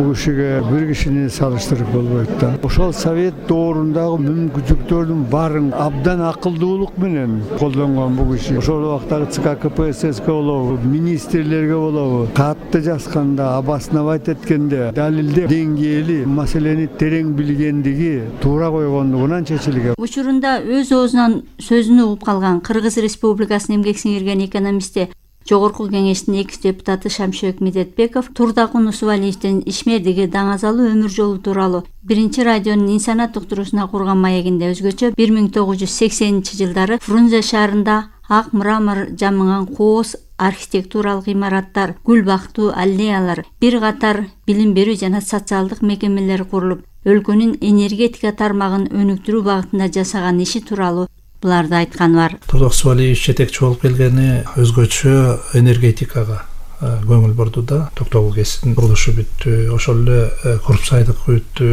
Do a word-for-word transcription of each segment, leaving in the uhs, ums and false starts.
Бул кишиге бир кишини салыштырып болбойт да. Ошол совет доорундагы мүмкүнчүлүктөрдүн баарын абдан акылдуулук менен колдонгон бул киши. Ошол убактагы ЦК КПСС болобу, министрлерге болобу катты жазганда, обосновать эткенде, далилдеп деңгээли маселени терең билгендиги туура койгондугунан чечилген. Учурунда өз оозунан сөзүн угуп калган Кыргыз Республикасынын эмгек сиңирген экономисти, Жогорку кеңештин экс депутаты Шамшыбек Медетбеков Турдакун Усубалиевдин ишмердиги даңазалуу өмүр жолу тууралуу биринчи радионун инсанат уктуруусуна курган маегинде өзгөчө бир миң тогуз жүз сексенинчи жылдары Фрунзе шаарында ак мрамор жамыган кооз архитектуралык имараттар, гүл бактуу аллеялар, бир катар билим берүү жана социалдык мекемелер курулуп, өлкөнүн энергетика тармагын өнүктүрүү багытында жасаган иши тууралуу буларды айткан бар. Турдак Усубалиев жетекчи болуп келгени өзгөчө энергетикага көңүл бурду да. Токтогул КЭСтин курулушу бүттү, ошол эле Куруп сайдыкы бүттү,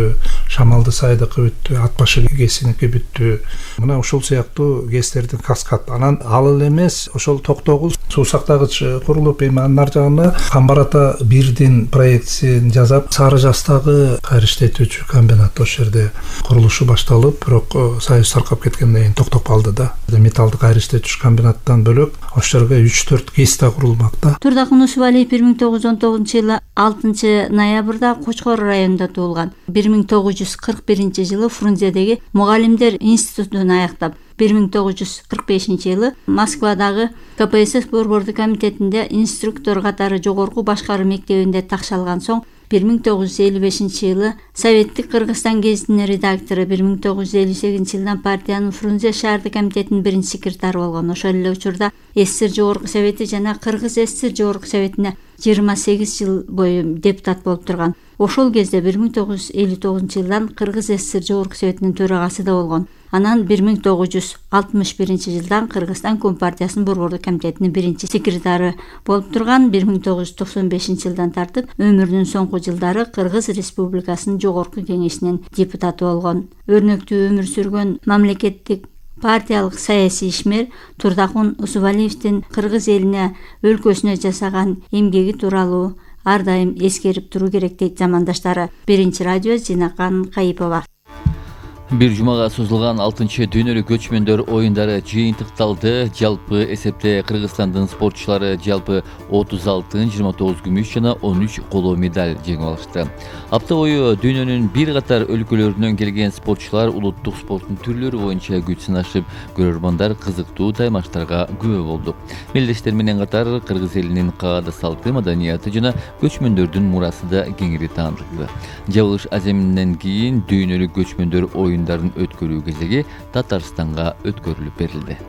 Шамалды сайдыкы бүттү, Ат башы КЭСиники бүттү. Мына ушул сыяктуу КЭСтердин каскад. Анан ал эле эмес, ошол Токтогул суу сактагыч курулуп, эми анын ар жагына Камбар ата бирдин проектисин жасап, Сары Жастагы кайра иштетүүчү комбинат ошол жерде курулушу башталып, бирок союз таркап кеткенден кийин токтоп калды да. Металлды кайра иштетүүчү комбинаттан бөлөк ошол жерге үч төрт КЭС да курулмак да. Турдакун Усубалиев бир миң тогуз жүз он тогузунчу жылы алтынчы ноябрда Кочкор районунда туулган. бир миң тогуз жүз кырк биринчи жылы Фрунзедеги мугалимдер институтун аяктап, бир миң тогуз жүз кырк бешинчи жылы Москвадагы КПСС борбордук комитетинде инструктор катары жогорку башкаруу мектебинде такшалган соң, бир миң тогуз жүз элүү бешинчи жылы Советтик Кыргызстан гезитинин редактору, бир миң тогуз жүз элүү сегизинчи жылдан партиянын Фрунзе шаардык комитетинин биринчи секретары болгон. Ошол эле учурда СССР Жогорку Совети жана Кыргыз СССР Жогорку Советине жыйырма сегиз жыл бою депутат болуп турган. Ошол кезде бир миң тогуз жүз элүү тогузунчу жылдан Кыргыз СССР Жогорку Советинин төрагасы да болгон. Анан бир миң тогуз жүз алтымыш биринчи жылдан Кыргызстан Компартиясынын борбордук комитетинин биринчи секретары болуп турган. бир миң тогуз жүз токсон бешинчи жылдан тартып өмүрүнүн соңку жылдары Кыргыз Республикасынын Жогорку кеңешинин депутаты болгон. Өрнөктүү өмүр сүргөн мамлекеттик партиялык саясий ишмер Турдакун Усубалиевдин Кыргыз элине, өлкөсүнө жасаган эмгеги тууралуу ар дайым эскерип туруу керек дейт замандаштары. Биринчи радио, Зинакан Кайыпова. Бир жумага созулган алтынчы дүйнөлүк көчмөндөр оюндары жыйынтыкталды. Жалпы эсепте Кыргызстандын спортчулары жалпы отуз алтын, жыйырма тогуз күмүш жана он үч коло медаль жеңип алышты. Апта бою дүйнөнүн бир катар өлкөлөрүнөн келген спортчулар улуттук спорттун түрлөрү боюнча күч сынашып, көрөрмандар кызыктуу таймаштарга күбө болду. Мелдештер менен катар Кыргыз элинин каада салты, маданияты жана көчмөндөрдүн мурасы да кеңири таандыкты. Жабылыш аземинен кийин дүйнөлүк көчмөндөр оюндарын өткөрүү кезеги Татарстанга өткөрүлүп берилди.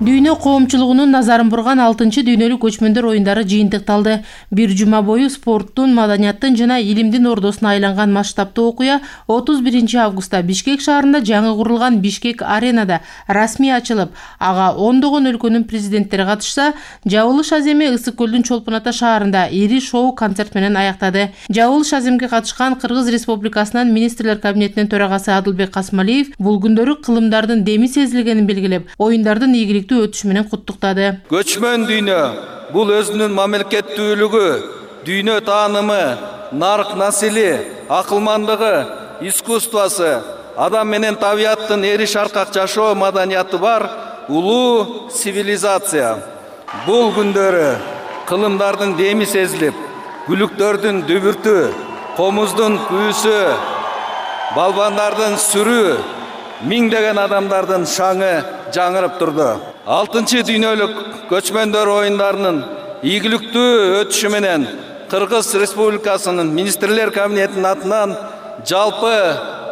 Дүйнө коомчулугунун назарын бурган алтынчы дүйнөлүк көчмөндөр оюндары жыйынтыкталды. Бир жума бою спорттун, маданияттын жана илимдин ордосуна айланган масштабтуу окуя отуз биринчи августта Бишкек шаарында жаңы курулган Бишкек аренада расмий ачылып, ага ондогон өлкөнүн президенттери катышса, жабылыш аземи Ысык көлдүн Чолпон Ата шаарында ири шоу-концерт менен аяктады. Жабылыш аземге катышкан Кыргыз Республикасынын министрлер кабинетинин төрагасы Адылбек Касмалиев бул күндөрү кылымдардын деми сезилгенин белгилеп, оюндардын ийгиликтүү өтүшү менен куттуктады. Көчмөн дүйнө бул өзүнүн мамлекеттүүлүгү, дүйнө таанымы, нарк насили, акылмандыгы, искусствосы, адам менен табияттын эри шаркак жашоо маданияты бар улуу цивилизация. Бул күндөрү кылымдардын деми сезилип, күлүктөрдүн дүбүртү, комуздун күүсү, балбандардын сүрү, миңдеген адамдардын шаңы жаңырып турду. алтынчы дүйнөлүк көчмөндөр оюндарынын ийгиликтүү өтүшү менен Кыргыз Республикасынын министрлер кабинетинин атынан жалпы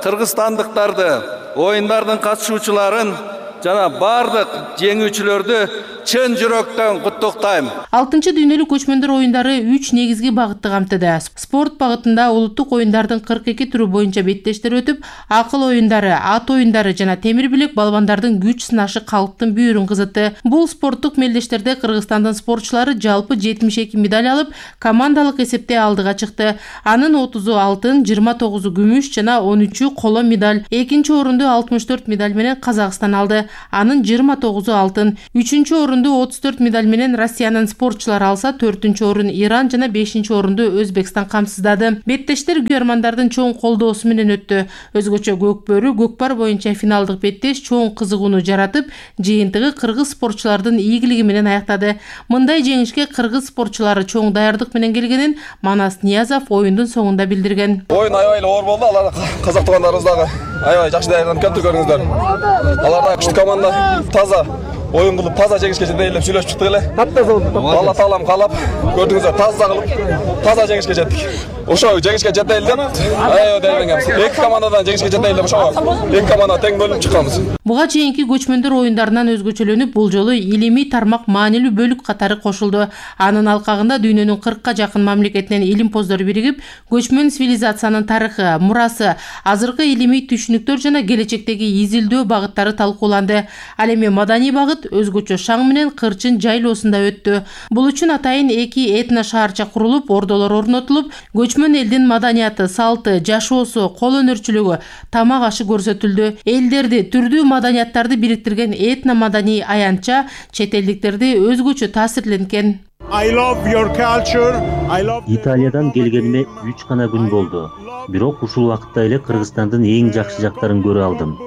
кыргызстандыктарды, оюндардын катышуучуларын жана бардык жеңүүчүлөрдү чын жүрөктөн куттуктайм. алтынчы дүйнөлүк көчмөндөр оюндары үч негизги багытты камтыды. Спорт багытында улуттук оюндардын кырк эки түрү боюнча беттештер өтүп, акыл оюндары, ат оюндары жана темир билек балбандардын күч сынашы калктын бүйүрүн кызытты. Бул спорттук мелдештерде Кыргызстандын спортчулары жалпы жетимиш эки медаль алып, командалык эсепте алдыга чыкты. Анын отузу алтын, жыйырма тогузу күмүш жана он үчү коло медаль. Экинчи орунду алтымыш төрт медаль менен Казакстан алды. Анын жыйырма тогузу алтын, үчүнчү орунду отуз төрт медаль менен Россиянын спортчулары алса, төртүнчү орун Иран жана бешинчи орунду Өзбекстан камсыздады. Беттештер күйөрмандардын чоң колдоосу менен өттү. Өзгөчө көкбөрү көкпар боюнча финалдык беттеш чоң кызыгууну жаратып, жыйынтыгы кыргыз спортчулардын ийгилиги менен аяктады. Мындай жеңишке кыргыз спортчулары чоң даярдык менен келгенин Манас Ниязов оюндун соңунда билдирген. Оюн аябай эле оор болду. Алар казак туугандарыбыз дагы аябай жакшы даярданып келди, көрдүңүздөр. Алар да күчтүү команда, таза оюн кылып, таза жеңишке жетели деп сүйлөшүп чыктык эле. Алла таалам каалап, көрдүңүздөр, таза кылып, таза жеңишке жеттик. Ошо жеңишке жетели деп аябай даярданганбыз. Эки командадан жеңишке жетели деп ошо эки команда тең бөлүнүп чыкканбыз. Буга чейинки көчмөндөр оюндарынан өзгөчөлөнүп, бул жолу илимий тармак маанилүү бөлүк катары кошулду. Анын алкагында дүйнөнүн кыркка жакын мамлекетинен илимпоздор биригип, көчмөн цивилизациянын тарыхы, мурасы, азыркы илимий түшүнүктөр жана келечектеги изилдөө багыттары талкууланды. Ал эми маданий багыт өзгөчө шаң менен кырчын жайлоосунда өттү. Бул үчүн атайын эки этно шаарча курулуп, ордолор орнотулуп, көчмөн элдин маданияты, салты, жашоосу, кол өнөрчүлүгү, тамак ашы көрсөтүлдү. Элдерди, түрдүү маданияттарды бириктирген этно маданий аянтча чет элдиктерди өзгөчө таасирленткен. Италиядан келгениме үч гана күн болду. Бирок ушул убакытта эле Кыргызстандын эң жакшы жактарын көрө алдым.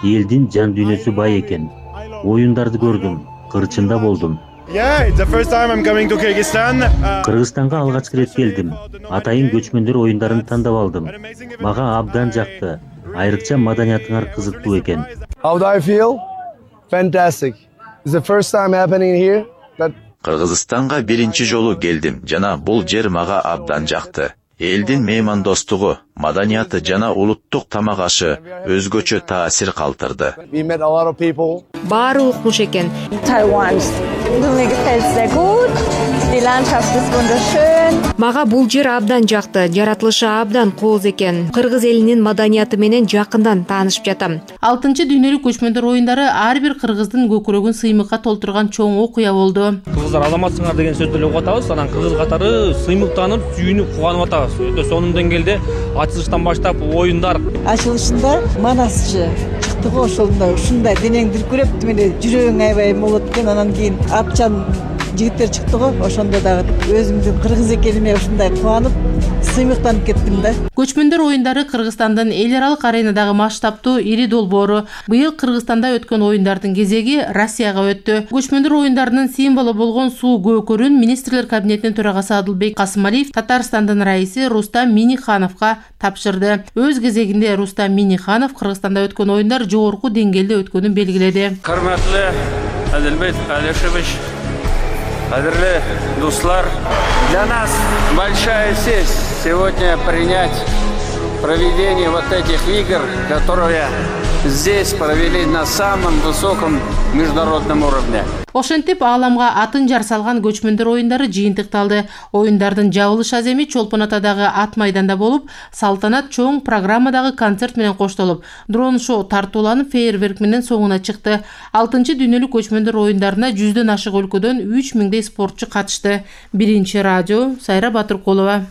Элдин жан дүйнөсү бай экен. Оюндарды көрдүм, кырчында болдум. Кыргызстанга алгачкы ирет келдим. Атайын көчмөндөр оюндарын тандап алдым. Мага абдан жакты. Айрыкча маданиятыңар кызыктуу экен. How do I feel? Fantastic. It's the first time happening here. Кыргызстанга биринчи жолу келдим жана бул жер мага абдан жакты. Элдин меймандостугу, маданияты жана улуттук тамак ашы өзгөчө таасир калтырды. Баары укмуш экен. Мага бул жер абдан жакты, жаратылышы абдан кооз экен. Кыргыз элинин маданияты менен жакындан таанышып жатам. алтынчы дүйнөлүк көчмөндөр оюндары ар бир кыргыздын көкүрөгүн сыймыкка толтурган чоң окуя болду. Кыргыздар азаматсыңар деген сөздү эле угуп атабыз, анан кыргыз катары сыймыктанып, сүйүнүп кубанып атабыз. Өтө сонун деңгээлде ачылыштан баштап оюндар. Ачылышында Манасчы чыкты го, ошондо ушундай денең дүркүрөп, мени жүрөгүң аябай болот экен, анан кийин Апчан жигиттер чыкты го, ошондо дагы өзүмдүн кыргыз экениме ушундай кубанып, сыймыктанып кеттим да. Көчмөндөр оюндары Кыргызстандын эл аралык аренадагы масштабтуу ири долбоору. Быйыл Кыргызстанда өткөн оюндардын кезеги Россияга өттү. Көчмөндөр оюндарынын символу болгон суу көкөрүн министрлер кабинетинин төрагасы Адылбек Касымалиев Татарстандын раиси Рустам Минихановго тапшырды. Өз кезегинде Рустам Миниханов Кыргызстанда өткөн оюндар жогорку деңгээлде өткөнүн белгиледи. Кырматтуу Адылбек Алешевич, кадырлы дуслар, для нас большая честь сегодня принять проведение вот этих игр, которые здесь провели на самом высоком международном уровне. Ошентип ааламга атын жар салган көчмөндөр оюндары жыйынтыкталды. Оюндардын жабылыш аземи Чолпон Атадагы ат майданда болуп, салтанат чоң программадагы концерт менен коштолуп, дрон шоу тартууланып, фейерверк менен соңуна чыкты. алтынчы дүйнөлүк көчмөндөр оюндарына жүздөн ашык өлкөдөн үч миңдей спортчу катышты. Биринчи радио Сайра Батыркулова.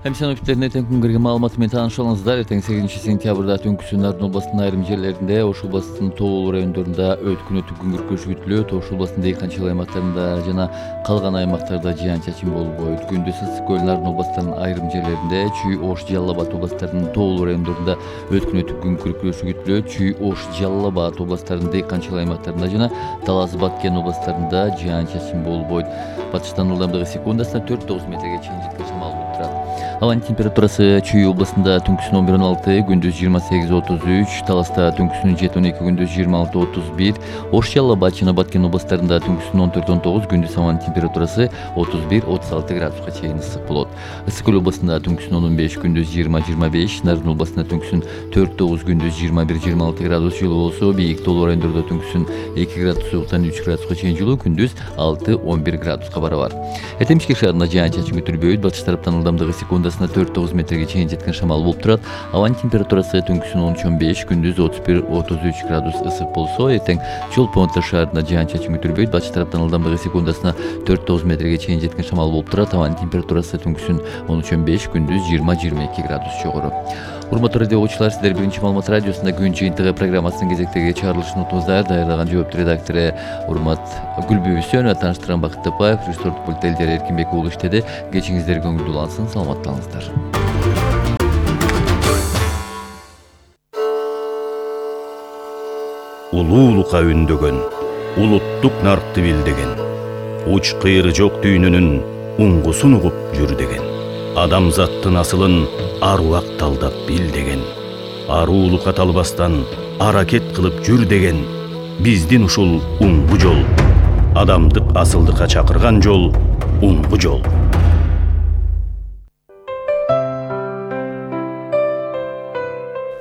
Хемсиновиттерин эртең күнгөргө маалыматы менен тааныша алыңыздар. Эртең сегизинчи сентябрда түнкүсүн Нарын областынын айрым жерлеринде, Ош областынын Тоолуу райондорунда өткөн түгүн күркөшү күтүлөт. Ош областынын Дейканчыл аймактарында жана калган аймактарда жаан-чачын болбойт. Күндүз ысык көл Нарын областынын айрым жерлеринде, Чүй, Ош, Жалал Абад областарынын Тоолуу райондорунда өткөн түгүн күркөшү күтүлөт. Чүй, Ош, Жалал Абад областарынын Дейканчыл аймактарында жана Талас, Баткен областарында жаан-чачын болбойт. Батыштан ылдамдыгы секундасына төрт тогуз метрге чейин жеткен шамал болуп турат. Ауанын температурасы Чүй областында түнкүсүн он бир он алты, күндүз жыйырма сегиз отуз үч, Таласта түнкүсүн жети он эки, күндүз жыйырма алты отуз бир, Ош, Жалал Абад жана Баткен областарында түнкүсүн он төрт он тогуз, күндүз ауанын температурасы отуз бир отуз алты градуска чейин ысык болот. Ысык көл областында түнкүсүн он он беш, күндүз жыйырма жыйырма беш, Нарын областында түнкүсүн төрт тогуз, күндүз жыйырма бир жыйырма алты градус жылуу болсо, бийик Тоолуу райондордо түнкүсүн эки градус сууктан үч градуска чейин жылуу, күндүз алты он бир градуска барабар. Эртең Бишкек шаарында жаан-чачын күтүлбөйт. Батыш тараптан ылдамдыгы секундасына төрт тогуз метрге чейин жеткен шамал болуп турат. Ауанын температурасы түнкүсүн он үч он беш, күндүз отуз бир отуз үч градус ысык болсо, эртең Чолпон Ата шаарында жаан-чачын күтүлбөйт. Батыш тараптан ылдамдыгы секундасына төрт тогуз метрге чейин жеткен шамал болуп турат. Ауанын температурасы түнкүсүн он үч он беш, күндүз жыйырма жыйырма эки градус жогору. Урматтуу радио угуучулар, сиздер биринчи маалымат радиосунда күн жыйынтыгы программасынын кезектеги чыгарылышын утуңуздар. Даярдаган жооптуу редактору Урмат Гүлбүбүсөнова, тааныштырган Бакыт Тапаев, режиссерлук пульт Элдер Эркинбек уулу иштеди. Кечиңиздер көңүлдүү улансын, саламаттаныңыздар. Улуулукка үндөгөн, улуттук наркты билдеген, уч кыйры жок дүйнөнүн уңгусун угуп жүр деген, адамзаттын асылын аруак талдап бил деген, аруулукка талбастан аракет кылып жүр деген, биздин ушул уңгу жол, адамдык асылдыкка чакырган жол, уңгу жол.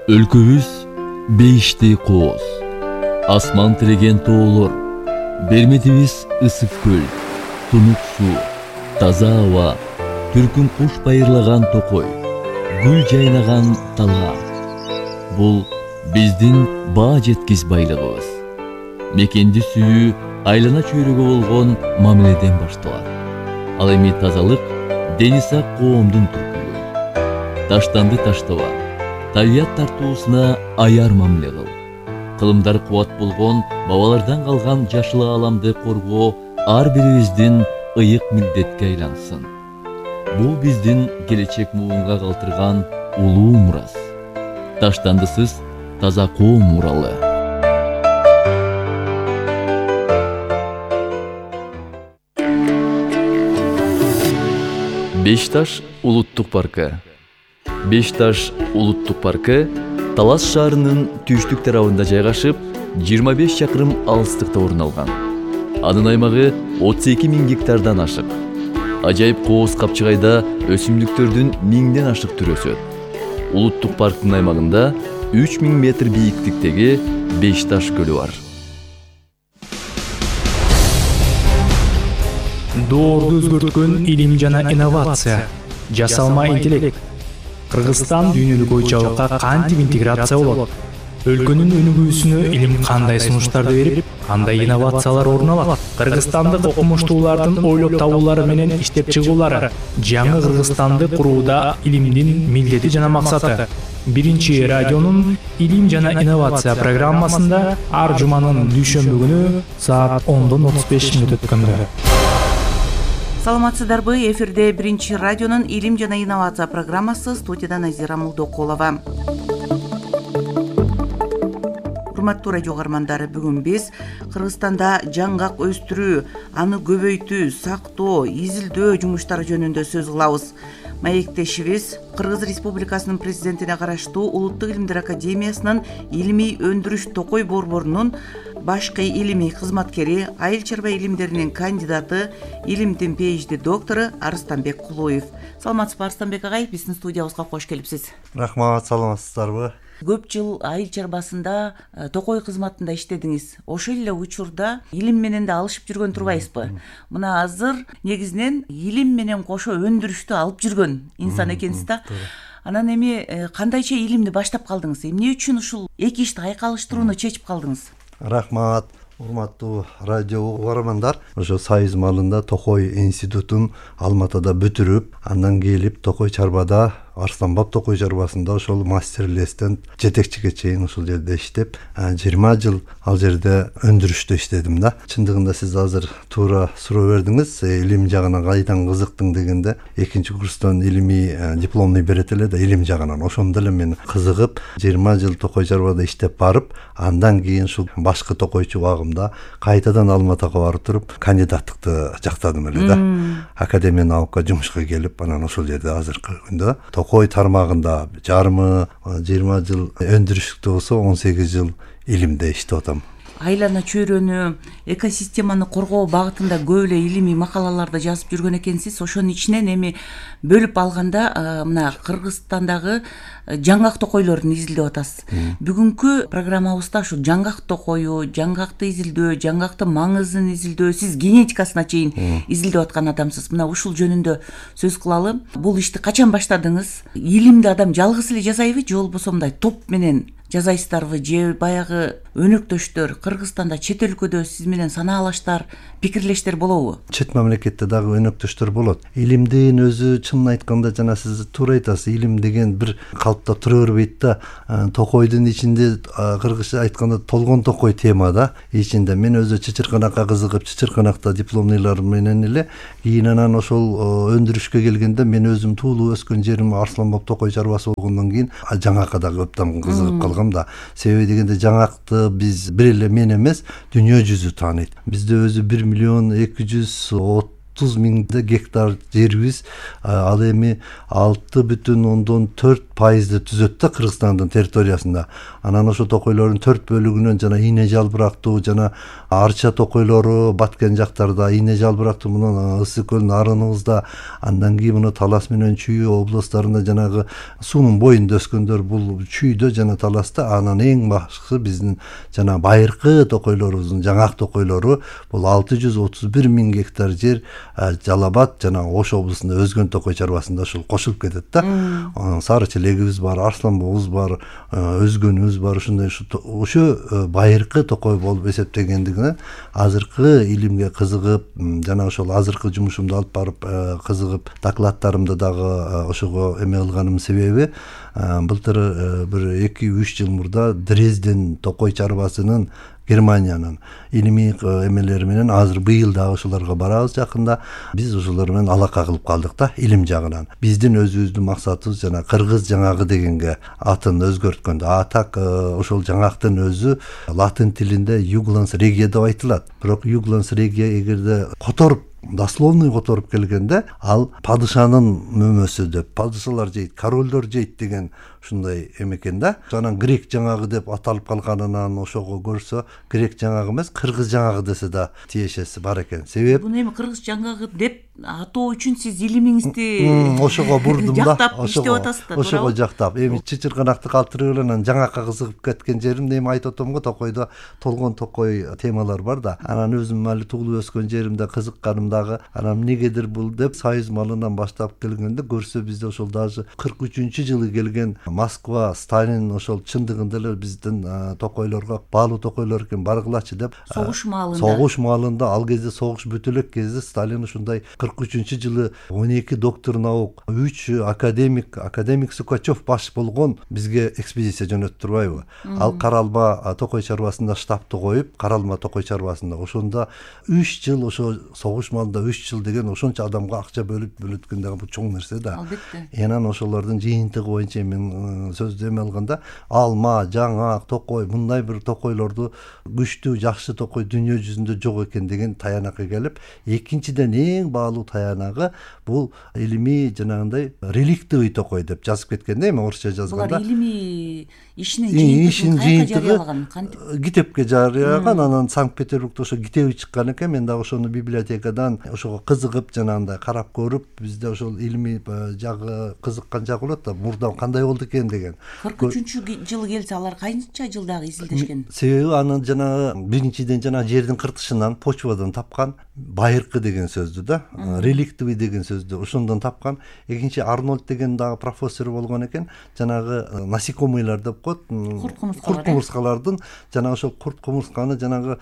Өлкөбүз бейиштей кооз, асман тиреген тоолор, берметибиз ысык көл, тунук суу, таза аба, түркүн куш байырлаган токой, гүл жайнаган талга. Бул биздин баа жеткис байлыгыбыз. Мекенди сүйүү айлана чөйрөгө болгон мамиледен башталат. Ал эми тазалык дени сак коомдун түркүлүгү. Таштанды таштаба, табият тартуусуна аяр мамиле кыл. Кылымдар кубат болгон бабалардан калган жашыл ааламды коргоо ар бирибиздин ыйык милдетке айлансын. Бул биздин келечек муунга калтырган улуу мурас. Таштандысыз таза коом муралы. Бешташ улуттук паркы. Бешташ улуттук паркы Талас шаарынын түштүк тарабында жайгашып, жыйырма беш чакырым алыстыкта орун алган. Анын аймагы отуз эки миң гектардан ашык. Ажайып кооз капчыгайда өсүмдүктөрдүн миңден ашык түрү өсөт. Улуттук парктын аймагында үч миң метр бийиктиктеги Бешташ көлү бар. Доорду өзгөрткөн илим жана инновация, жасалма интеллект. Кыргызстан дүйнөлүк ой жабыкка кантип интеграция болот? Өлкөнүн өнүгүүсүнө илим кандай сунуштарды берип, кандай инновациялар орун алат? Кыргызстандык окумуштуулардын ойлоп табуулары менен иштеп чыгуулары жаңы Кыргызстанды курууда илимдин милдети жана максаты. Биринчи радионун илим жана инновация программасында ар жуманын дүйшөмбү күнү саат ондон отуз беш мүнөт өткөндө. Саламатсыздарбы? Эфирде биринчи радионун илим жана инновация программасы, студияда Назира Мулдокулова. Урматтуу радио каармандары, бүгүн биз Кыргызстанда жаңгак өстүрүү, аны көбөйтүү, сактоо, изилдөө жумуштары жөнүндө сөз кылабыз. Маектешибиз Кыргыз Республикасынын президентине караштуу Улуттук илимдер академиясынын илимий өндүрүш токой борборунун башкы илимий кызматкери, айыл чарба илимдеринин кандидаты, илимдин PhD доктору Арыстанбек Кулуев. Саламатсызбы, Арыстанбек агай? Биздин студиябызга кош келипсиз. Рахмат, саламатсыздарбы? Көп жыл айыл чарбасында токой кызматында иштедиңиз. Ошол эле учурда илим менен да алышып жүргөн турбайсызбы? Мына азыр негизинен илим менен кошо өндүрүштү алып жүргөн инсан экенсиз да. Анан эми кандайча илимди баштап калдыңыз? Эмне үчүн ушул эки ишти айкалыштырууну чечип калдыңыз? Рахмат, урматтуу радио угармандар. Ошо Союз маалында Токой институтун Алматыда бүтүрүп, андан келип Токой чарбада, Арсланбап Токой чарбасында ошол мастерлестен жетекчиге чейин ушул жерде иштеп, жыйырма жыл ал жерде өндүрүштө иштедим да. Чындыгында сиз азыр туура суроо бердиңиз, илим жагына кайдан кызыктың дегенде, экинчи курстан илимий дипломну берет эле да, илим жагынан. Ошондо эле мен кызыгып, жыйырма жыл Токой чарбада иштеп барып, андан кийин ушул башкы токойчу багымда кайтадан Алматыга барып туруп, кандидаттыкты жактадым эле да. Академия наукка жумушка келип, анан ошол жерде азыркы күндө Токой тармагында жарымы жыйырма жыл өндүрүштүктө болсо, он сегиз жыл илимде иштеп атам. Айлана чөйрөнү, экосистеманы коргоо багытында көп эле илимий макалаларды жазып жүргөн экенсиз. Ошонун ичинен эми бөлүп алганда мына Кыргызстандагы жаңгак токойлорун изилдеп атасыз. Бүгүнкү программабызда ушу жаңгак токою, жаңгакты изилдөө, жаңгактын маңызын изилдөө, сиз генетикасына чейин изилдеп аткан адамсыз. Мына ушул жөнүндө сөз кылалы. Бул ишти качан баштадыңыз? Илимди адам жалгыз эле жасайбы же болбосо мындай топ менен жасайсыздарбы же баягы өнөктөштөр Кыргызстанда, чет өлкөдө сиз менен санаалаштар, пикирлештер болобу? Чет мамлекетте дагы өнөктөштөр болот. Илимдин өзү чынын айтканда жана сиз туура айтасыз, илим деген бир калыпта тура бербейт да. Токойдун ичинде кыргызча айтканда толгон токой тема да. Ичинде мен өзү чычырканакка кызыгып, чычырканакта дипломныйлар менен эле кийин анан ошол өндүрүшкө келгенде мен өзүм туулуп өскөн жерим Арсланбап токой чарбасы болгондон кийин жаңакка дагы өптөн кызыгып калгам да. Себеби дегенде жаңакты биз бир эле мен эмес, дүйнө жүзү тааныйт. Бизде өзү бир миллион эки жүз отуз миңде гектар жерибиз, ал эми алты бүтүн ондон төрт пайызды түзөт да Кыргызстандын территориясында. Анан ошо токойлордун төрт бөлүгүнөн жана ийне жалбырактуу жана арча токойлору баткен жактарда, ийне жалбырактуу мына Ысык көлүнүн арыныбызда, андан кийин мына Талас менен Чүй областтарында жанагы суунун боюнда өскөндөр бул Чүйдө жана Таласта. Анан эң башкысы биздин жана байыркы токойлорубуздун жаңак токойлору бул алты жүз отуз бир миң гектар жер Жалал Абад жана Ош облусунда өзгөн токой чарбасында ушул кошулуп кетет да. Анан Сары Челегибиз бар, Арсланбабыбыз бар, өзгөнүбүз бар. Ушундай ошо байыркы токой болуп эсептегендигинен азыркы илимге кызыгып, жана ошол азыркы жумушумду алып барып кызыгып, докладдарымды дагы ошого эме кылганымдын себеби былтыр бир эки үч жыл мурда Дрезден токой чарбасынын Германиянын илимий эмелери менен азыр быйыл дагы ошолорго барабыз жакында. Биз ошолор менен алака кылып калдык да илим жагынан. Биздин өзүбүздүн максатыбыз жана кыргыз жаңагы дегенге атын өзгөрткөндө. А так ошол жаңактын өзү латын тилинде Югланс регия деп айтылат. Бирок Югланс регия эгерде которуп дословный которуп келгенде ал падышанын мөмөсү деп, падышалар жейт, королдор жейт деген ушундай эмекен да. Анан грек жаңагы деп аталып калганынан ошого көрсө грек жаңагы эмес, кыргыз жаңагы десе да тиешеси бар экен. Себеп буну эми кыргыз жаңагы деп атоо үчүн сиз илимиңизди ошого бурдум да. Жактап иштеп атасыздар. Ошого жактап. Эми чычырканакты калтырып эле анан жаңакка кызыгып кеткен жеримде эми айтып атам го, токойдо толгон токой темалар бар да. Анан өзүм али туулуп өскөн жеримде кызыкканым дагы анан эмнегедир бул деп Союз малынан баштап келгенде көрсө бизде ошол даже кырк үчүнчү жылы келген Москва Сталин ошол чындыгында эле биздин токойлорго баалуу токойлор экен баргылачы деп согуш маалында согуш маалында ал кезде согуш бүтө элек кезде Сталин ушундай кырк үчүнчү жылы он эки доктор наук, үч академик, академик Сукачев баш болгон бизге экспедиция жөнөтүп турбайбы? Ал Каралма токой чарбасында штабты коюп, Каралма токой чарбасында ошондо үч жыл ошо согуш маалында үч жыл деген ошончо адамга акча бөлүп бөлөткөн деген бул чоң нерсе да. Албетте. Анан ошолордун жыйынтыгы боюнча мен сөздү эме алганда алма, жаңак, токой мындай бир токойлорду күчтүү, жакшы токой дүйнө жүзүндө жок экен деген таянакка келип, экинчиден эң баалуу таянагы бул илимий жанагындай реликтовый токой деп жазып кеткен да, эми орусча жазганда. Булар илимий ишинин жыйынтыгын кантип китепке жарыяган, анан Санкт-Петербургда ошо китеби чыккан экен. Мен дагы ошону библиотекадан ошого кызыгып жанагындай карап көрүп, бизде ошол илимий жагы кызыккан жагы болот да, мурда кандай болду экен деген. кырк үчүнчү жылы келсе алар канча жылдагы изилдешкен? Себеби анын жанагы биринчиден жана жердин кыртышынан, почвадан тапкан, байыркы деген сөздү да, реликтовый деген сөздү ошондон тапкан. Экинчи Арнольд деген дагы профессор болгон экен, жанагы насекомыйлар деп коет, курт кумурскалардын жана ошол курт кумурсканы жанагы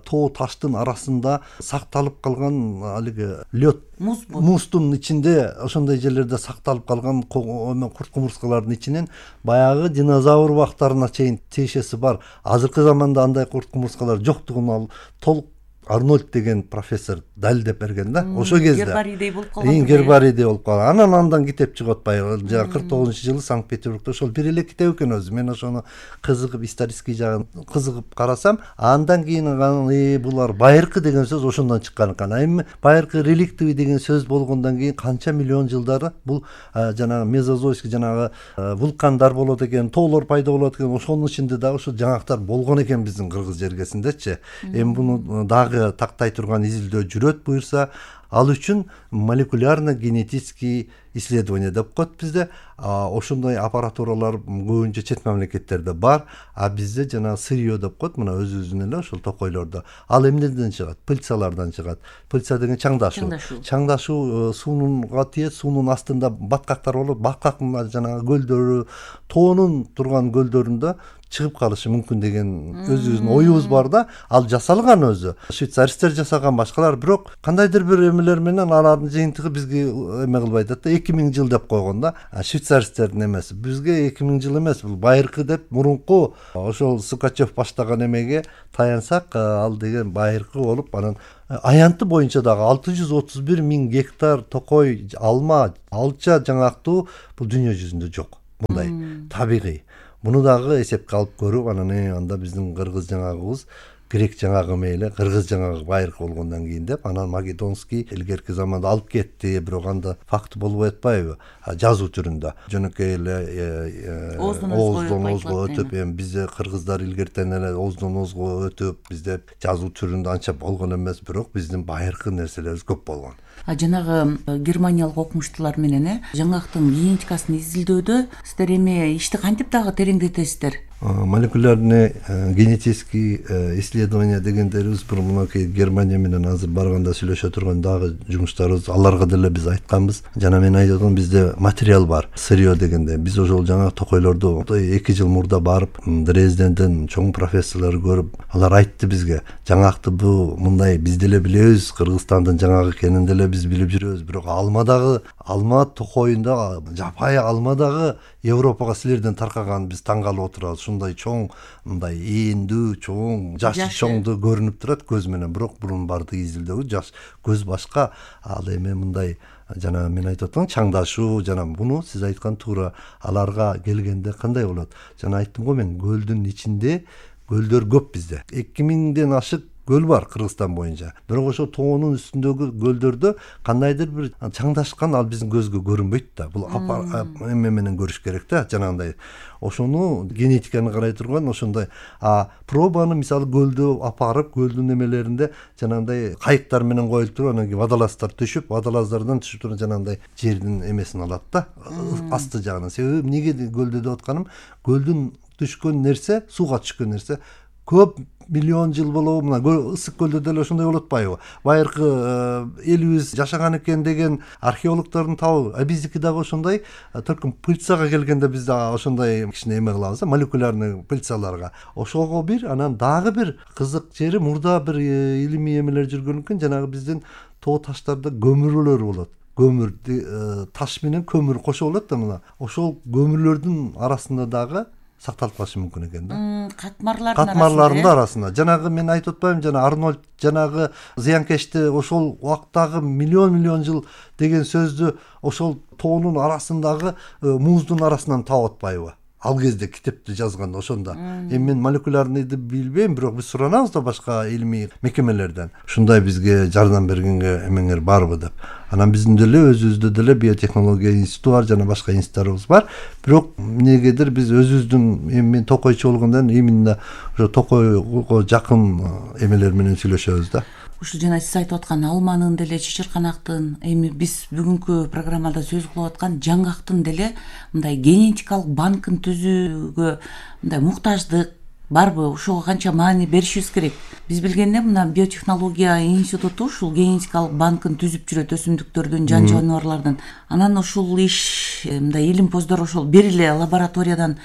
тоо таштын арасында сакталып калган алиги лёд муздун ичинде ошондой жерлерде сакталып калган курт кумурскалардын ичинен баягы динозавр убактарына чейин тиешеси бар. Азыркы заманда андай курт кумурскалар жоктугун ал толук Арнольд деген профессор далилдеп берген да. Ошол кезде гербарийдей болуп калган. Эң гербарийдей болуп калган. Анан андан китеп чыгып атпайбы? Жана кырк тогузунчу жылы Санкт-Петербургда ошол бир эле китеп экен өзү. Мен ошону кызыгып, исторический жагын кызыгып карасам, андан кийин э булар байыркы деген сөз ошондон чыккан экен. Эми байыркы реликтовый деген сөз болгондон кийин канча миллион жылдары бул жанагы мезозойский жанагы вулкандар болот экен, тоолор пайда болот экен. Ошонун ичинде дагы ошо жаңактар болгон экен биздин кыргыз жергесиндечи. Эми буну дагы тактай турган изилдөө жүрөт буюрса, ал үчүн молекулярно-генетический исследование деп коет бизде. Ошондой аппаратуралар көбүнчө чет мамлекеттерде бар, а бизде жана сырье деп коет, мына өзүбүздүн эле ошол токойлордо. Ал эмнеден чыгат? Пыльцалардан чыгат. Пыльца деген чаңдашуу. Чаңдашуу суунунга тиет, суунун астында баткактар болот. Баткактын жанагы көлдөрү, тоонун турган көлдөрүндө чыгып калышы мүмкүн деген өзүбүздүн оюбуз бар да. Ал жасалган өзү. Швейцаристер жасаган, башкалар, бирок кандайдыр бир эмелер менен алардын жыйынтыгы бизге эме кылбайт да. эки миң жыл деп койгон да. Швейцаристтердин эмеси. Бизге эки миң жыл эмес, бул байыркы деп мурунку ошол Сукачев баштаган эмеге таянсак, ал деген байыркы болуп, анан аянты боюнча дагы алты жүз отуз бир миң гектар токой, алма, алча жаңактуу бул дүйнө жүзүндө жок. Мындай табигый. Муну дагы эсепке алып көрүп, анан анда биздин кыргыз жаңагыбыз, грек жаңагы мейли, кыргыз жаңагы байыркы болгондон кийин деп, анан Македонский илгерки заманда алып кетти, бирок анда факт болбой атпайбы? Жазуу түрүндө. Жөнөкөй эле ооздон оозго өтүп, эми бизде кыргыздар илгертен эле ооздон оозго өтүп, бизде жазуу түрүндө анча болгон эмес, бирок биздин байыркы нерселерибиз көп болгон. А жанагы германиялык окумуштуулар менен жаңактын генетикасын изилдөөдө сиздер эми ишти кантип дагы тереңдетесиздер? Молекулярный генетический исследование дегендерибиз бир мынакей Германия менен азыр барганда сүйлөшө турган дагы жумуштарыбыз, аларга деле биз айтканбыз. Жана мен айтып атам, бизде материал бар, сырье дегенде. Биз ошол жаңа токойлорду эки жыл мурда барып, Дрезденден чоң профессорлор көрүп, алар айтты бизге, жаңакты бу мындай биз деле билебиз, Кыргызстандын жаңагы экенин деле биз билип жүрөбүз, бирок алмадагы, алма токойунда жапайы алмадагы Европага силерден таркаган биз таң калып отурабыз. Ушундай чоң, мындай ийиндүү, чоң, жашы чоңду көрүнүп турат көз менен, бирок бурун барды изилдөөгө жаш көз башка. Ал эми мындай жана мен айтып атам, чаңдашуу, жана буну сиз айткан туура, аларга келгенде кандай болот? Жана айттым го мен, көлдүн ичинде көлдөр көп бизде. эки миңден ашык көл бар Кыргызстан боюнча. Бирок ошо тоонун үстүндөгү көлдөрдө кандайдыр бир чаңдашкан ал биздин көзгө көрүнбөйт да. Бул эме менен көрүш керек да, жанагындай. Ошону генетиканы карай турган ошондой а пробаны мисалы көлдө апарып, көлдүн эмелеринде жанагындай кайыктар менен коюлуп туруп, анан кийин водолаздар түшүп, водолаздардан түшүп туруп жанагындай жердин эмесин алат да, асты жагынан. Себеби эмнеге көлдө деп атканым, көлдүн түшкөн нерсе, сууга түшкөн нерсе көп миллион жыл болобу, мына ысык көлдө деле ошондой болуп атпайбы? Байыркы элибиз жашаган экен деген археологдордун табы, а биздики дагы ошондой, только пыльцага келгенде биз дагы ошондой кичине эме кылабыз, молекулярный пыльцаларга. Ошого бир, анан дагы бир кызык жери, мурда бир илимий эмелер жүргөн экен, жанагы биздин тоо таштарда көмүрлөр болот. Көмүр, таш менен көмүр кошо болот да мына. Ошол көмүрлөрдүн арасында дагы сакталып калышы мүмкүн экен да. Катмарлардын Катмарлардын арасында. Жанагы мен айтып атпаймынбы, жана Арнольд жанагы зыянкечти ошол убактагы миллион миллион жыл деген сөздү ошол тоонун арасындагы муздун арасынан таап атпайбы? Ал кезде китепти жазганда ошондо. Эми мен молекулярныйды билбейм, бирок биз суранабыз да башка илимий мекемелерден. Ушундай бизге жардам бергенге эмеңер барбы деп. Анан биздин деле өзүбүздө деле биотехнология институту бар, жана башка институттарыбыз бар. Бирок эмнегедир биз өзүбүздүн эми мен токойчу болгондон именно ошо токойго жакын эмелер менен сүйлөшөбүз да. Ушул жана сиз айтып аткан алманын деле, чычырканактын, эми биз бүгүнкү программада сөз кылып аткан жаңгактын деле мындай генетикалык банкын түзүүгө мындай муктаждык барбы? Ошого канча маани беришибиз керек? Биз билгенде мына биотехнология институту ушул генетикалык банкын түзүп жүрөт, өсүмдүктөрдүн, жан жаныбарлардын. Анан ушул иш мындай илимпоздор ошол бир эле лабораториядан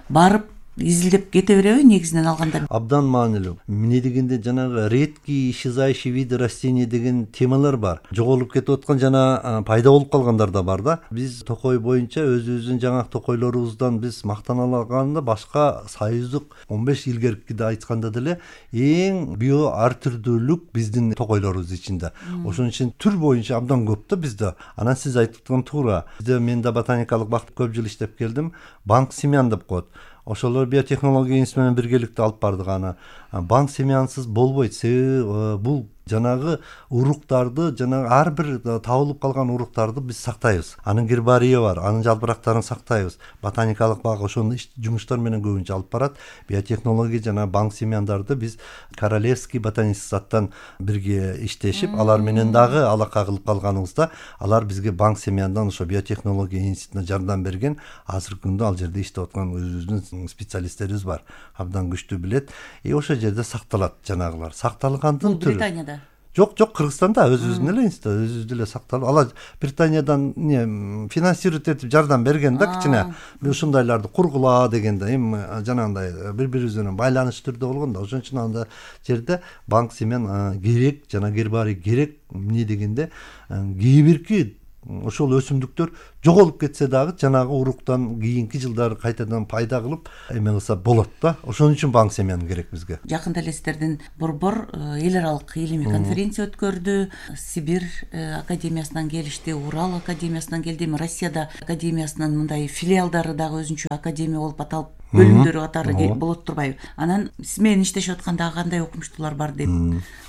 барып изилдеп кете береби негизинен алганда? Абдан маанилүү. Эмне дегенде жанагы редкие исчезающие виды растений деген темалар бар. Жоголуп кетип аткан жана пайда болуп калгандар да бар да. Биз токой боюнча өзүбүздүн жаңак токойлорубуздан биз мактана алганда башка союздук он беш илгеркиде айтканда деле эң био ар түрдүүлүк биздин токойлорубуз ичинде. Ошон үчүн түр боюнча абдан көп да бизде. Анан сиз айтып аткан туура. Бизде мен да ботаникалык бакта көп жыл иштеп келдим. Банк семян деп коет. Ошолор биотехнология институту менен биргеликте алып бардык аны. Банк семьянсыз болбойт. Себеби бул жанагы уруктарды, жанагы ар бир табылып калган уруктарды биз сактайбыз. Анын гербарийи бар, анын жалбырактарын сактайбыз. Ботаникалык бак ошондой жумуштар менен көбүнчө алып барат. Биотехнология жана банк семяндарды биз Королевский ботанический садтан бирге иштешип, алар менен дагы алака кылып калганыбызда, алар бизге банк семяндан ошо биотехнология институтуна жардам берген. Азыркы күндө ал жерде иштеп аткан өзүбүздүн специалисттерибиз бар. Абдан күчтүү билет. И ошол жерде сакталат жанагылар. Сакталгандын түрү. Британияда. Жок, жок, Кыргызстанда өзүбүздүн эле институт, өзүбүздү эле сакталып, ала Британиядан не финансировать этип жардам берген да кичине. Ушундайларды кургула дегенде, эми жанагындай бири-бирибиз менен байланыш түрдө болгон да. Ошон үчүн анда жерде банк семен керек, жана гербарий керек, эмне дегенде кээ бирки ошол өсүмдүктөр жоголуп кетсе дагы жанагы уруктан кийинки жылдары кайтадан пайда кылып эме кылса болот да. Ошон үчүн банк семян керек бизге. Жакында эле сиздердин борбор эл аралык илимий конференция өткөрдү. Сибир академиясынан келишти, Урал академиясынан келди, Россияда академиясынын мындай филиалдары дагы өзүнчө академия болуп аталып бөлүмдөрү катары болот турбайбы? Анан сиз менен иштешип атканда кандай окумуштуулар бар деп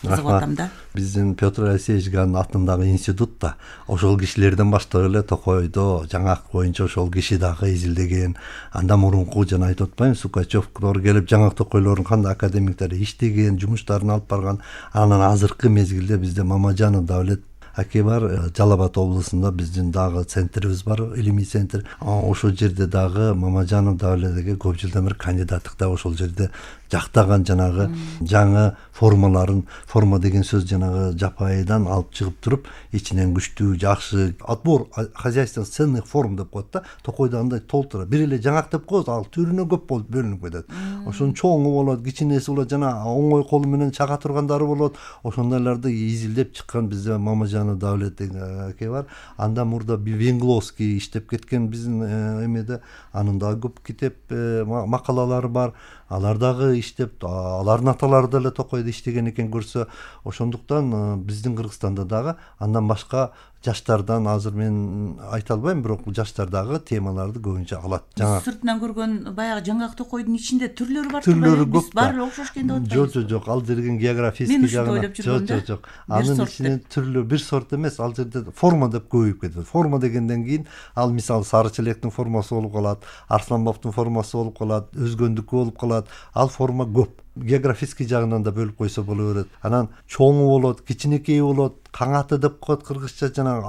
кызыгып атам да. Биздин Петр Алексеевич Ганн атындагы институтта ошол кишилерден баштап эле Токойдо жаңак боюнча ошол киши дагы изилдеген. Анда мурунку жана айтып атпаймынбы, Сукачевдор келип жаңак токойлордун кандай академиктери иштеген, жумуштарын алып барган. Анан азыркы мезгилде бизде Мамажанов Давлет аке бар, Жалал Абад облусунда биздин дагы центрибиз бар, илимий центр. Ошол жерде дагы Мамажанов Давлетке көп жылдан бери кандидаттыкта ошол жерде жактаган жанагы жаңы формаларын, форма деген сөз жанагы жапайыдан алып чыгып туруп, ичинен күчтүү, жакшы отбор хозяйственных ценных форм деп коет да. Токойдо андай толтура. Бир эле жаңак деп коет, ал түрүнө көп болуп бөлүнүп кетет. Ошонун чоңу болот, кичинеси болот, жана оңой колу менен чага тургандары болот. Ошондойлорду изилдеп чыккан бизде Мамажанов Давлет аке бар. Анда мурда Венгловский иштеп кеткен биздин эмеде, анын дагы көп китеп макалалары бар. Алар дагы иштеп, алардын аталары деле Токойдо иштеген экен көрсө, ошондуктан биздин Кыргызстанда дагы андан башка жаштардан азыр мен айта албайм, бирок жаштар дагы темаларды көбүнчө алат. Жаңа сыртынан көргөн баягы жаңак Токойдун ичинде түрлөрү бар. Түрлөрү көп. Баары окшош экен деп атпайбыз? Жок, жок, жок. Ал жерден географический жагынан. Жок, жок, жок. Анын ичинен түрлүү бир сорт эмес, ал жерде форма деп көбөйүп кетет. Форма дегенден кийин ал мисалы сары челектин формасы болуп калат, Арсланбовдун формасы болуп калат, өзгөндүкү болуп калат. Ал форма көп. Географический жагынан да бөлүп койсо боло берет. Анан чоңу болот, кичинекей болот, каңаты деп коет кыргызча, жана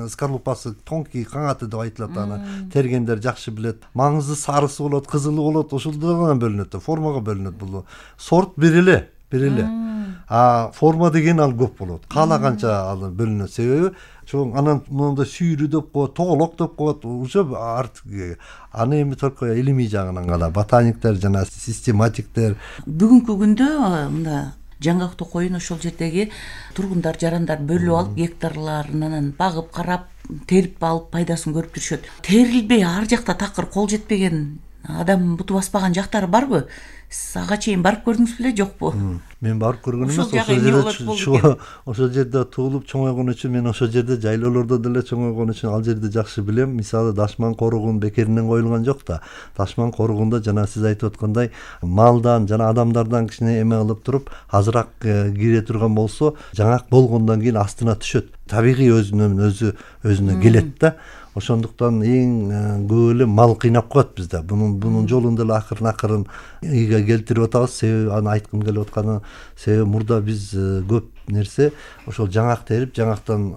скорлупасы тонкий каңаты деп айтылат. Аны тергендер жакшы билет. Маңызды сарысы болот, кызылы болот, ошолдордон бөлүнөт. Формага бөлүнөт бул. Сорт бир эле, бир эле. А форма деген ал көп болот. Каалаганча ал бөлүнөт. Себеби чоң анан монда сүйрү деп коет, тоголок деп коет. Уже артык аны эми только илимий жагынан гана ботаниктер жана систематиктер. Бүгүнкү күндө мында жаңак токойун ошол жердеги тургундар, жарандар бөлүп алып, гектарларынан багып, карап, терип алып, пайдасын көрүп жүрүшөт. Терилбей ар жакта такыр кол жетпеген, адам буту баспаган жактары барбы? Ага чейин барып көрдүңүз беле, жокпу? Мен барып көргөн эмес, ошол жерде ошол жерде туулуп чоңойгон үчүн мен ошол жерде жайлоолордо деле чоңойгон үчүн ал жерди жакшы билем. Мисалы Дашман коругун бекеринен коюлган жок да. Дашман коругунда жана сиз айтып аткандай малдан жана адамдардан кичине эме кылып туруп, азыраак кире турган болсо, жаңак болгондон кийин астына түшөт. Табигый өзүнөн өзү өзүнө келет да. Ошондуктан эң көп эле мал кыйнап коет бизде. Бунун бунун жолун деле акырын акырын ийге келтирип атабыз. Себеби аны айткым келип атканы, себеби мурда биз көп нерсе ошол жаңак терип, жаңактан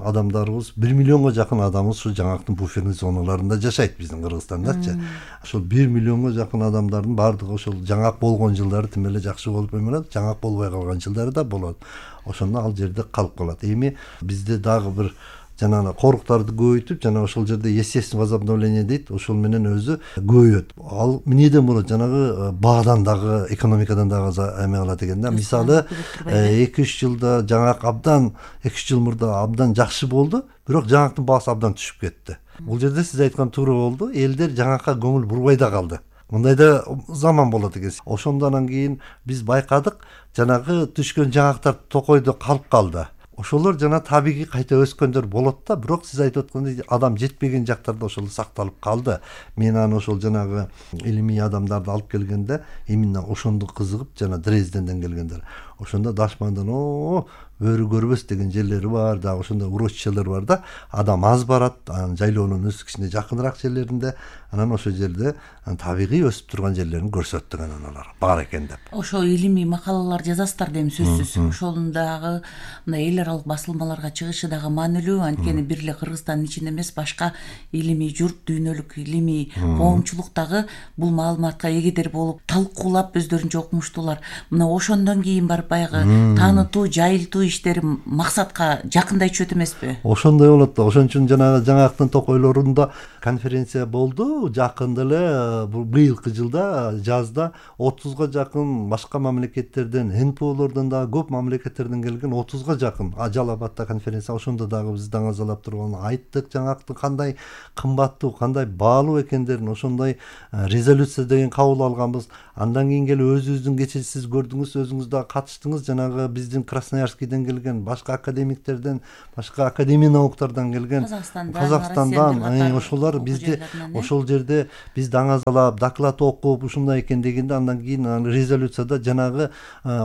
адамдарыбыз бир миллионго жакын адамыбыз ушу жаңактын буферный зоналарында жашайт биздин Кыргызстандачы. Ошол бир миллионго жакын адамдардын баардыгы ошол жаңак болгон жылдары тим эле жакшы болуп эмелет, жаңак болбой калган жылдары да болот. Ошондо ал жерде калып калат. Эми бизде дагы бир жана коруктарды көбөйтүп, жана ошол жерде естественное возобновление дейт, ошол менен өзү көбөйөт. Ал эмнеден болот? Жанагы баадан дагы, экономикадан дагы эме кылат экен да. Мисалы эки үч жылда жаңак абдан эки үч жыл мурда абдан жакшы болду, бирок жаңактын баасы абдан түшүп кетти. Бул жерде сиз айткан туура болду. Элдер жаңакка көңүл бурбай да калды. Мындай да заман болот экен. Ошондон кийин биз байкадык, жанагы түшкөн жаңактар Токойдо калып калды. Ошолор жана табигый кайта өскөндөр болот да, бирок сиз айтып аткандай адам жетпеген жактарда ошол сакталып калды. Мен аны ошол жанагы илимий адамдарды алып келгенде, именно ошондо кызыгып, жана Дрезденден келгендер. Ошондо Дашмандан о өрү көрбөс деген жерлери бар да, ошондо урочищалар бар да. Адам аз барат, анан жайлоонун өз кичине жакыныраак жерлеринде, анан ошол жерде табигый өсүп турган жерлерин көрсөттүк анан алар бар экен деп. Ошо илимий макалалар жазасыздар дем сөзсүз. Ошонун дагы мына эл аралык басылмаларга чыгышы дагы маанилүү. Анткени бир эле Кыргызстандын ичинде эмес, башка илимий журт, дүйнөлүк илимий коомчулук дагы бул маалыматка эгедер болуп, талкуулап өздөрүнчө окумуштуулар. Мына ошондон кийин барып баягы таанытуу, жайылтуу иштери максатка жакындайтчу эмеспи? Ошондой болот да. Ошон үчүн жанагы жаңактын токойлорунда конференция болду. Жакында эле быйылкы жылда жазда отузга жакын башка мамлекеттерден, эн пэ олордон дагы көп мамлекеттерден келген отузга жакын Жалал Абадта конференция. Ошондо дагы биз даңазалап турган айттык жаңактын кандай кымбаттуу, кандай баалуу экендерин, ошондой резолюция деген кабыл алганбыз. Андан кийин келип өзүбүздүн кечээ сиз көрдүңүз, өзүңүз дагы катыштыңыз. Жанагы биздин Красноярскийден келген, башка академиктерден, башка академия науктардан келген, Казакстандан, ошолор бизди ошол жерде биз даңазалап, доклад окуп, ушундай экен дегенде, андан кийин резолюцияда жанагы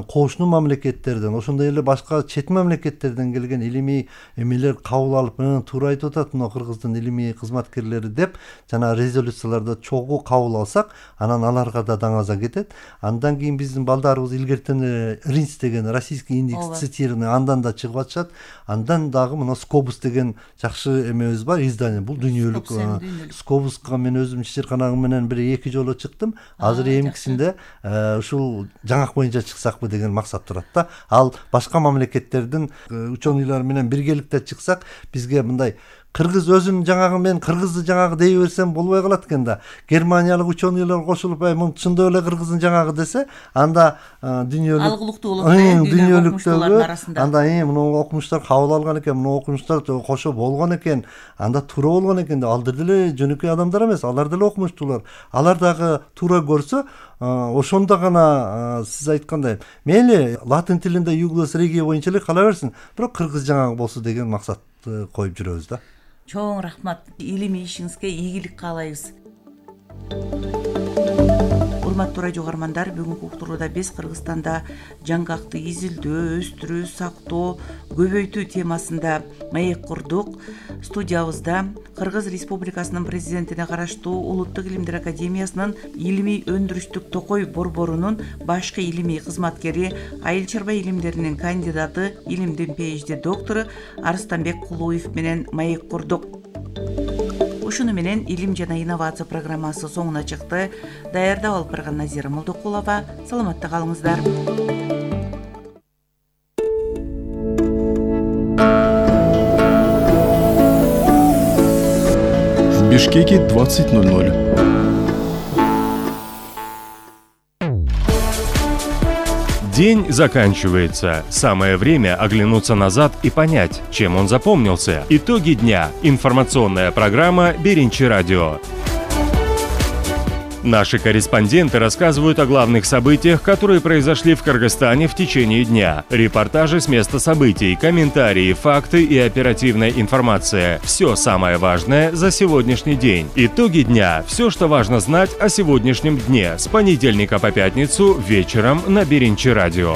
кошуну мамлекеттерден, ошондой эле башка чет мамлекеттерден келген илимий эмелер кабыл алып, туура айтып атат мына Кыргыздын илимий кызматкерлери деп, жана резолюцияларды чогуу кабыл алсак, анан аларга да даңаза кетет. Андан кийин биздин балдарыбыз илгертен РИНС деген российский индекс цитирования андан да чыгып атышат. Андан дагы мына Скобус деген жакшы эмебиз бар, издание. Бул дүйнөлүк Скобуска мен өзүм чечирканагым менен бир эки жолу чыктым. Азыр эмкисинде ушул жаңак боюнча чыксакпы деген максат турат да. Ал башка мамлекеттердин ученыйлары менен биргеликте чыксак, бизге мындай кыргыз өзүнүн жаңагы мен кыргызды жаңагы дей берсем болбой калат экен да. Германиялык ученыйлар кошулуп, ай мун чындап эле кыргыздын жаңагы десе, анда дүйнөлүк алгылыктуу болот да, дүйнөлүктөгү арасында. Анда э муну окумуштар кабыл алган экен, муну окумуштар кошо болгон экен, анда туура болгон экен деп. Алдар деле жөнөкөй адамдар эмес, алар деле окумуштуулар. Алар дагы туура көрсө, ошондо гана сиз айткандай, мейли латын тилинде Юглас регия боюнча эле кала берсин, бирок кыргыз жаңагы болсо деген максатты коюп жүрөбүз да. Чоң рахмат. Илимий ишиңизге ийгилик каалайбыз. Урматтуу радио угармандар, бүгүнкү уктурууда биз Кыргызстанда жаңгакты изилдөө, өстүрүү, сактоо, көбөйтүү темасында маек курдук. Студиябызда Кыргыз Республикасынын президентине караштуу Улуттук илимдер академиясынын илимий өндүрүштүк токой борборунун башкы илимий кызматкери, айыл чарба илимдеринин кандидаты, илимдин PhD доктору Арыстанбек Кулуев менен маек курдук. Ушуну менен илим жана инновация программасы соңуна чыкты. Даярдап алып барган Назира Молдокулова. Саламатта калыңыздар. В Бишкеке двадцать ноль ноль. День заканчивается. Самое время оглянуться назад и понять, чем он запомнился. Итоги дня. Информационная программа «Беринчи радио». Наши корреспонденты рассказывают о главных событиях, которые произошли в Кыргызстане в течение дня. Репортажи с места событий, комментарии, факты и оперативная информация. Все самое важное за сегодняшний день. Итоги дня. Все, что важно знать о сегодняшнем дне. С понедельника по пятницу вечером на Беринчи радио.